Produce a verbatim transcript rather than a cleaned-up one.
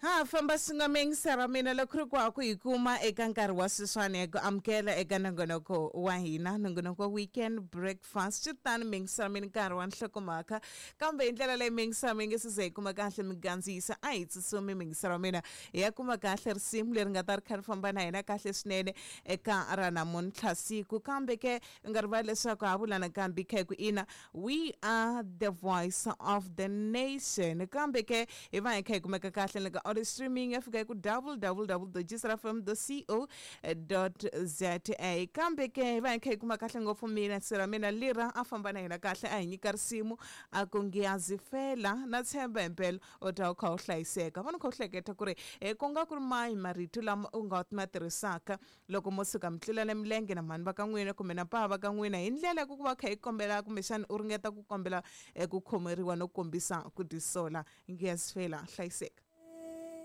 Ha famba swin'we ra mina loko ri ku ku hi kuma eka nkarhi wa sweswiwani hi ku amukela eka nongonoko wa hina, nongonoko wa Weekend Breakfast. Swi tani mingisela mina nkarhi wa nhlokomhaka, kambe hi ndlela leyi mingisela mi nge se ze hi kuma kahle migandziyisa, a hi tsutsumi mingisela mina hi ya kuma kahle risimu leri nga ta ri kha ri famba na hina kahle swinene eka ra namuntlha siku. Kambe ke u nga rivali leswaku ha vula nakambe kha hi ku ina, we are the voice of the nation. Kambe ke hi va hi kha hi kumeka kahle le ka audio streaming ya fika hi ku w w w dot g c r f m dot co dot za. Kambe ke hi va hi kha hi kuma kahle ngopfu mina sira mina lira a famba na hina kahle, a hi nyika risimu a ku ngiyazifela. Na tshemba himpela u ta u kha u hlayiseka vona, u kha u hleketa ku ri e ku nga ku ri mahi marito lama u nga ma tirhisaka loko mo suka mi tlulana milenge na mhani va ka n'wina kumbe na papa va ka n'wina, hi ndlela ya ku ku va kha hi kombela kumbexana u ringeta ku kombela eh, ku khomeriwa no kombisa ku tisola. Ngiyazifela, hlayiseka.